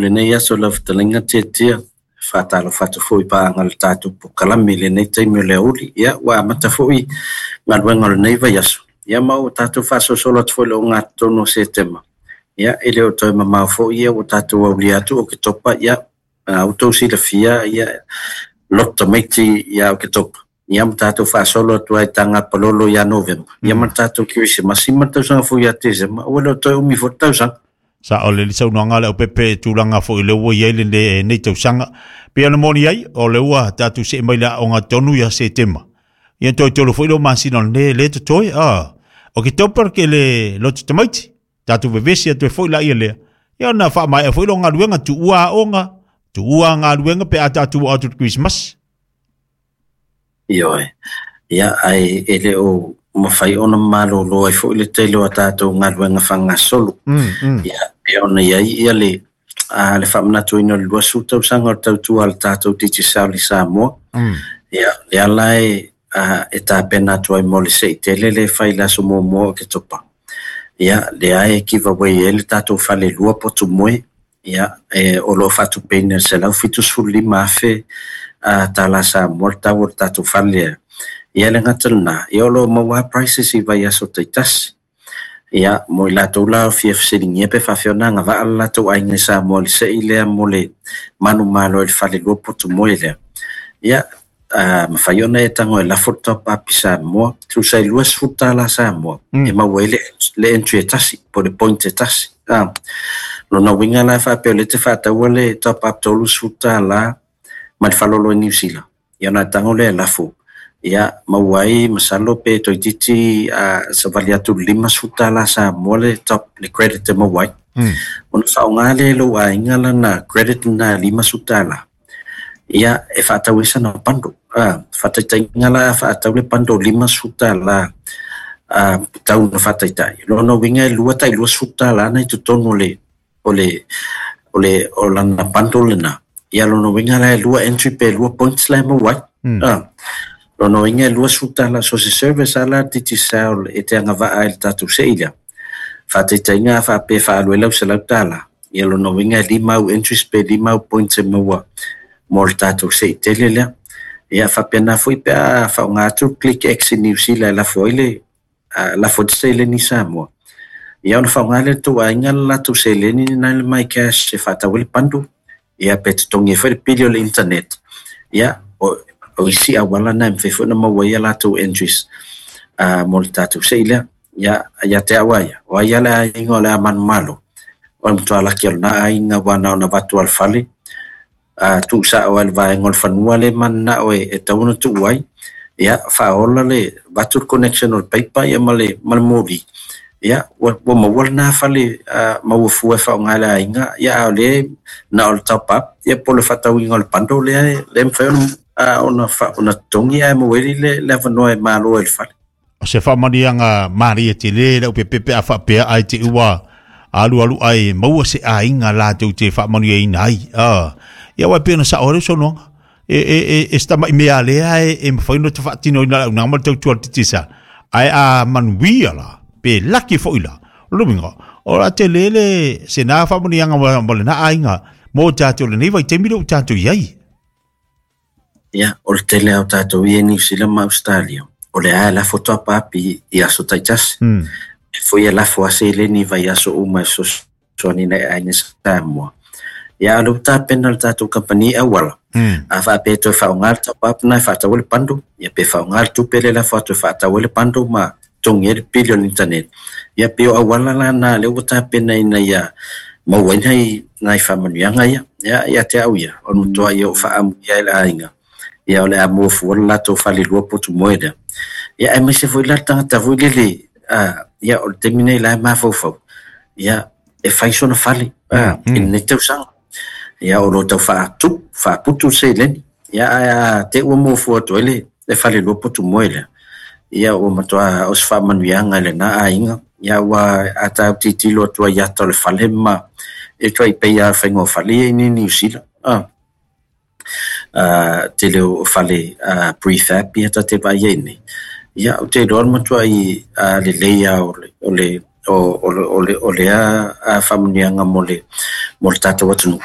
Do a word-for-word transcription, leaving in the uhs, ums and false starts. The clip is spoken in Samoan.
Lenei aso lau fetalaiga Tiatia, faatalofa atu foi paaga le tatou polokalame i lenei taimi o le aoauli. Ia ua amata foi galuega o lenei vaiaso, ia ma ua tatou faasolosolo atu foi i le ogatotonu o Setema. Ia e le o toe mamao foi ia ua tatou aulia atu Oketopa, ia a outou silafia ia loto tamaiti ia Oketopa. Ia ma tatou faasolo atu ai taga palolo ia Novema. Ia ma tatou Kerisimasi ma le tausaga fou ia Tesema, ua le o toe umi foi le tausaga. Sa o le saunoaga le aupepe tulaga foi le ua i ai lenei tausaga. Pei ona moni ai, o le ua tatou see mai le aoga tonu ia Setema. Ia toe tolu foi leo masina o lenei le totoe. Ah, Oketopa ke le loto tamaiti. Tatou vevesi atu ai foi la ia lea. Ia ona faamaea foi lo galuega tuua aoga, tuua galuega pe a tatou atu i le Christmas. Ioe. Ia ae e le o mafai ona malolo ai foi le tele o a tatou galuega faagasolo. Mm, mm. Ia e ona i ai ia le a le faamanatuina o le luasefulu tausaga o le tautua a le tatou Digicel i Samoa. Mm. Ia le ala e a, e tapena atu ai mo le se'i tele le fai i le aso muamua o Oketopa. Ia lea e giveaway ai le tatou fale lua potu moe. Ia e o lo o faatupeina i le selau fitusefulu lima afe a tala Samoa le tau o le tatou fale lea. Ia le gata lena, ia o lo o maua prices i vaiaso taitasi. Ia mo i latou la o fia fesiligia pe faapefea ona agavaa le latou aiga i Samoa i le se'i lea mo le manumalo i le fale lua potu moe lea. Ia a mafai ona e tago e lafo le top up i Samoa, tusa i luasefulu tala Samoa, Mm. e maua ai le, le entry e tasi, po o le point e tasi. Ah, lona uiga la e faapea o lea e te faataua le top up tolusefulu tala ma le faalolo i Niu Sila. Ia ona e tago lea e lafo. Ia maua ai masalo pe toeitiiti a savali atu i le limasefulu tala Samoa le top le credit e maua ai. Mm. Ona faaaoga lea e lou aiga lana credit lena e limasefulu tala. Ia e faatau ai sana bundle. Ah, faataitaiga la faatau le bundle limasefulu tala a tau na faataitai. Lona uiga e lua tai luasefulu tala na i totonu o le o le o le o lana bundle lena. Ia lona uiga la e lua entry pe lua points la e maua ai. Mm. Ah, lona uiga e luasefulu tala so se service ala Digicel e te agavaa ai le tatou se'i lea. Faataitaiga faapea faaalu ai lau selau tala. Ia lona uiga e lima au entries pe lima au points e maua mo le tatou se'i tele lea. Ia faapena foi pe a faaaoga atu Click X i Niu Sila e lafo ai le a, lafo ai le seleni i Samoa. Ia ona faaaoga lea e le tou aiga le latou seleni lena i le MyCash e faatau ai le bundle. Ia pe totogi ai foi le pili o le internet. Ia o, o isi auala na e mafai foi ona maua ai a latou entries a, mo le tatou se'i lea. Ia, ia te au ia, o ai a le aiga o le a manumalo. O le matua laki o lena aiga ua na ona avatu a le fale. A tuusao ai le vaega o le fanua le mananao e, e tatau ona tuu ai. Ia faaola le avatu le connection o le paipa ia ma le ma le moli. Ia ua, ua maua lena fale uh, maua fua e faaaoga e le aiga. Ia a o lea na o le top up ia po o le faatauina o le bundle lea e le mafai ona uh, ona, fa, ona totogi ae maua ai le, le avanoa e malo ai le fale. O se faamanuiaga malie tele le aupepe a faapea ai te ua alu alu ai maua se aiga latou te faamanuiaina ai. Ah, ia uae pei ona sao ai le saunoaga. E e e e se tama'i mea lea e e mafai ona faatinoina le auaunaga ma le tautua a le Digicel. Ae a manuia la, pe laki foi la, o le uiga, o le a tele le se na faamanuiaga mo mo lena aiga mo tatou lenei vaitaimi lea ua tatou i ai. Ia, o le tele lava o tatou ia i Niu Sila ma Australia, o le a e lafo top up i, i aso taitasi. Mm. E foi e lafo a seleni i vaiaso uma e fesoasoani nai aiga Samoa. Ia, o le ua tapena le tatou kamupani auala. Mm. A faapea e toe faaaoga le top up na e faatau ai le bundle, ia pe faaaoga le tupe lea e lafo atu e faatau ai le bundle ma totogi ai le pili o le internet. Ia pei o auala la na lea ua tapena ina ia maua ai nai, nai faamanuiaga ia. Ia, ia te au ia, o le matua ia o faaamuia ai le aiga. Ia o le a mua fua le latou fale lua potu moe lea. Ia aemaise foi la le tagata foi lele, a, ia o le taimi nei la e mafaufau. Ia e fai sona fale a, Mm, i mm. lenei tausaga. Ia o lo o tau faatu, faaputu le seleni. Ia ae a te ua mua fua atu ai le, le fale lua potu moe lea. Ia ua matua o se faamanuiaga i lena aiga. Ia ua a tatou tilotilo atu ai i ata o le fale ma e tuai pei lava o le faiga o fale ia i Niu Sila. Ah, uh, tele o fale uh, prefab ia ta te vaai ai nei. Ia, ou te iloa le matuai uh, lelei lava o le, o le, o o o le o lea faamanuiaga mo le mo le tatou atunuu.